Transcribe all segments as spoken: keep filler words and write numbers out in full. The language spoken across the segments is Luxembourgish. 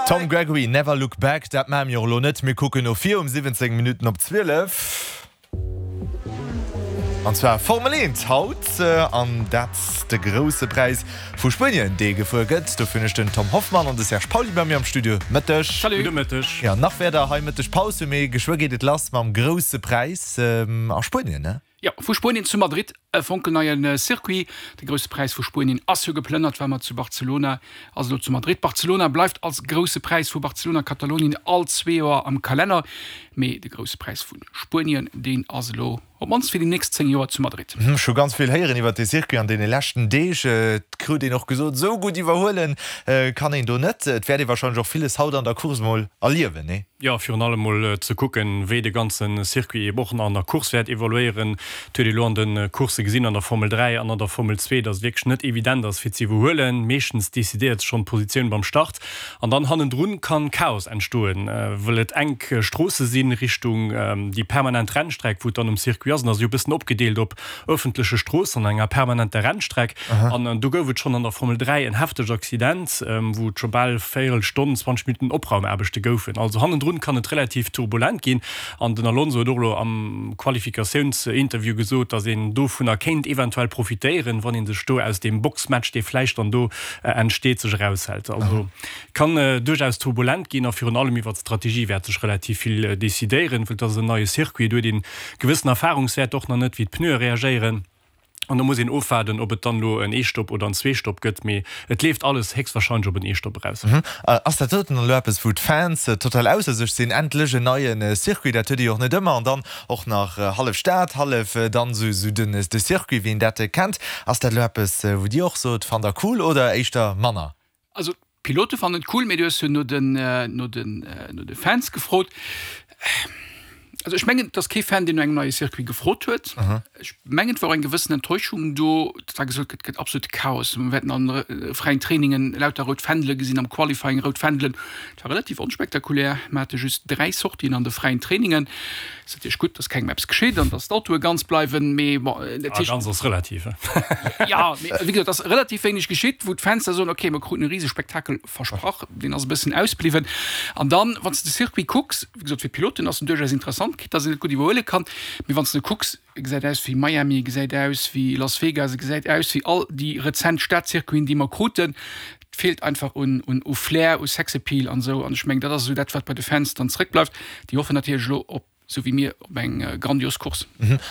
Tom Gregory, Never Look Back, dat maache mir och elo net. Mir kucken no vir um siwwenzéng Minutten op zwielef. An zwar Formel eent haut, an dat de Grousse Präis vu Spuenien, dee gefuer gëtt. Dofir hunn ech den Tom Hoffmann an de Serge Pauly bei mir am Studio. Mëtteg. Salut. Gudde Mëtteg. Jo, nach wäert der hei Mëtteg Paus hunn, mee geschwë geet et lass mam Grousse Präis a Spuenien, ne? Jo, vu Spuenien zu Madrid, e fonkelneie Circuit. De Grousse Präis vu Spuenien ass jo geplënnert, war mat zu Barcelona, ass elo zu Madrid. Barcelona bleift als Grousse Präis vu Barcelona-Katalonien all zwee Joer am Kalenner, mee de Grousse Präis vu Spuenien, deen ass elo op d'mannst fir déi nächst zéng Joer zu Madrid. Ech hu ganz vill héieren iwwer dee Circuit an deene leschten Deeg. Et krut een och gesot, esou gutt iwwerhuele kann een do net. Et wäert ee warscheinlech och villes haut an der Course mol erliewen, nee? Jo, virun allem mol ze kucken, wéi de ganze Circuit eeben och an der Course wäert evoluéieren. Et huet ee lo an de Coursse gesinn, an der Formel dräi an an der Formel zwee, datt et wierklech net evident ass fir ze iwwerhuelen. Meeschtens decidéiert sech schonn d'Positioun beim Start an dann hannendrun kann Chaos entstoen, well et enk Stroosse sinn Richtung déi permanent Rennstreck, wou et dann um Circuit ass. An ass jo e bëssen opgedeelt op ëffentleche Stroossen an enger permanenter Rennstreck. An do gouf et schonn an der Formel dräi en heftegt Accident, wou et scho bal véierel Stonn, zwanzeg Minutten Opraumaarbechte goufen. Also hannendrun kann et relativ turbulent ginn. An den Alonso huet och elo am Qualifikatiounsinterview gesot, datt een dovunner kéint eventuell profitéieren, wann ee sech do aus deem Boxmatch, dee vläicht dann do entsteet, sech eraushält. Also kann duerchaus turbulent ginn a virun allem iwwer d'Strategie wäert sech relativ vill decidéieren, well et ass en neie Circuit, do huet een gewëssen Erfahrungswäert och nach net, wéi d'Pneue reagéieren. An do muss een ofwaarden, ob et dann elo en Ee-Stopp oder en Zwee-Stopp gëtt. Mee et leeft alles héchstwahrscheinlech op en Ee-Stopp eraus. Ass dat doten elo eppes, wou d'Fans total ausser sech sinn? Endlech en neie Circuit, dat huet ee jo och net ëmmer. An dann och nach hallef Stad, hallef dann esou den de Circuit, wéi een dat kennt. Ass dat elo eppes, wou Dir och sot, fannt Der cool oder éischter manner? Also d'Pilote fannen et cool, mee du hues jo no den, no den, no de Fans gefrot. Also ech mengen, et ass kee Fan, deen no engem neie Circuit gefrot huet. Ech mengen, et war och eng gewëssen Enttäuschung do, datt da gesot gëtt, et gëtt absolute Chaos, mir wäerten an de fräien Trainingen lauter rout Fändele gesinn, am Qualifying rout Fändelen. Et war relativ onspektakulär, mir hate just dräi Sortien an de fräien Trainingen. Ass natierlech gutt, datt kengem eppes geschitt an datt d'Autoe ganz bleiwen, mee bon, dat heescht. Ganz ass relativ, he? Jo, mee wéi gesot, et ass relativ wéineg geschitt, wou d'Fans da soen, okay, mir kruten e Risespektakel versprach, deen ass e bëssen ausbliwwen. An dann, wann s de de Circuit kucks, wéi gesot, fir d'Piloten ass en duerchaus interessant, quitte datt een net gutt iwwerhuele kann, mee wann s de kucks, e gesäit aus wéi Miami, e gesäit aus wéi Las Vegas, e gesäit aus wéi all déi rezent Stadcircuiten, déi mer kruten. Et feelt einfach un u Flair, u Sexappeal an esou. An ech mengen, dat ass esou dat, wat bei de Fans dann zréckbleift. Déi hoffen natierlech elo op, esou wéi mir, op eng grandios Course.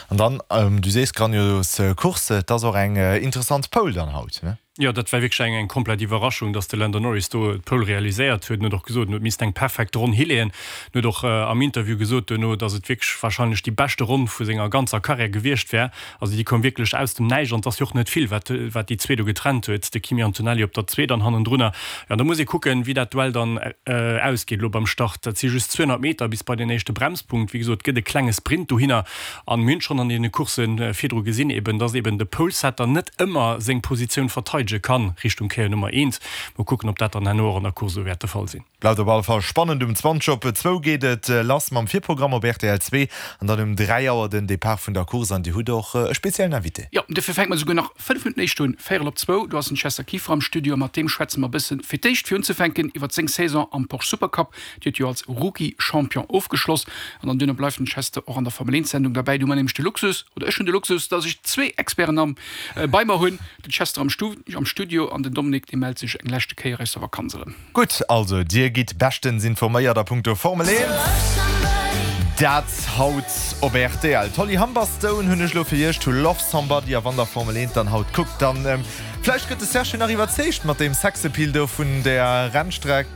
An dann, du sees grandios Course, et ass och eng interessant Pole dann haut, ne? Jo, dat war wierklech eng eng komplett Iwwerraschung, dass de Lando Norris do d'Pole realiséiert huet. En huet och gesot, en huet missten eng perfekt Ronn hileeën. En huet och am Interview gesot duerno, dass et wierklech warscheinlech déi beschte Ronn vu senger ganzer Karriär gewiescht wär. Also déi koum wierklech aus dem Näischt an et ass jo och net vill, wat wat déi zwee do getrennt huet, de Kimi Antonelli op der zwee dann hannendrunner. Jo, an da muss ee kucken, wéi dat Duell dann ausgeet elo beim Start. Dat si just zweehonnert Meter bis bei den éischte Bremspunkt. Wéi gesot, et gëtt e klenge Sprint dohinner an mir hunn schonn an deene Coursse virdru gesinn eben, dass eben de Polesetter net ëmmer seng Positioun verteidege kann Richtung Kéier Nummer eent. Mol kucken, ob dat dann herno och an der Course esou wäert de Fall sinn. Bleift op alle Fall spannend. Um zwanzeg op zwou geet et lass mam Virprogramm op rtl zwee an dann um dräi Auer den Depart vun der Course an Dir hutt och e speziellen Invité. Jo, dofir fänke mer esouguer nach fënnef Minutten éischt un, véierel op zwou. Do ass den Chester Kieffer am Studio a mat deem schwätze mer e bëssen fir d'éischt fir unzefänken iwwert seng Saison am Porsche Supercup. Déi huet jo als Rookie-Champion ofgeschloss an dann duerno bleift den Chester och an der Formel eent Sendung derbäi. Do hu mer nämlech de Luxus, oder ech hunn de Luxus, dass ech zwee Experten am bei mer hunn, den Chester am am Studio an den Dominique, dee mellt sech eng leschte Kéier aus der Vakanz erëm. Gutt, also dir gitt beschtens informéiert a punkto Formel eent. Dat haut op rtl. D'Holly Humberstone hunn ech elo fir iech, To Love Somebody. A wann der Formel eent dann haut kuckt, dann vläicht gëtt de Serge jo nach iwwerzeegt mat deem Sexappeal do vun der Rennstreck.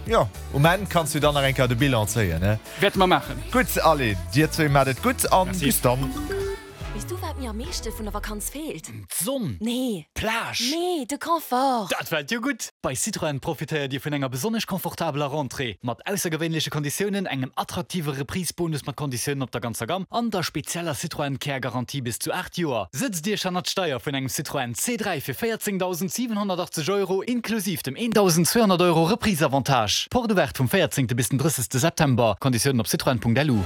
Jo, um Enn kanns du dann nach eng Kéier de Bilan zéien, ne? Wäerte mer maachen. Gutt, allez, dir zwee maacht et gutt an bis dann. Weess du wat mir am meeschte vun der Vakanz feelt? D'Sonn! Nee. D'Plage! Nee, de Confort! Dat fält jo gutt! Bei Citroën profitéiert Dir vun enger besonnesch confortabeler Rentrée, mat aussergewéinleche Konditiounen, engem attraktive Reprise-Bonus mat Konditiounen op der ganzer Gamm an der spezieller Citroën Care Garantie bis zu aacht Joer. Sëtzt Iech hannert d'Steier vun engem Citroën C dräi fir véierzéngdausend siwenhonnertachtzeg Euro inklusiv dem eendausend zweehonnert Euro Reprise-Avantage. Porte ouverte vum véierzéngte bis den drëssegste September. Konditiounen op citroën Punkt lu.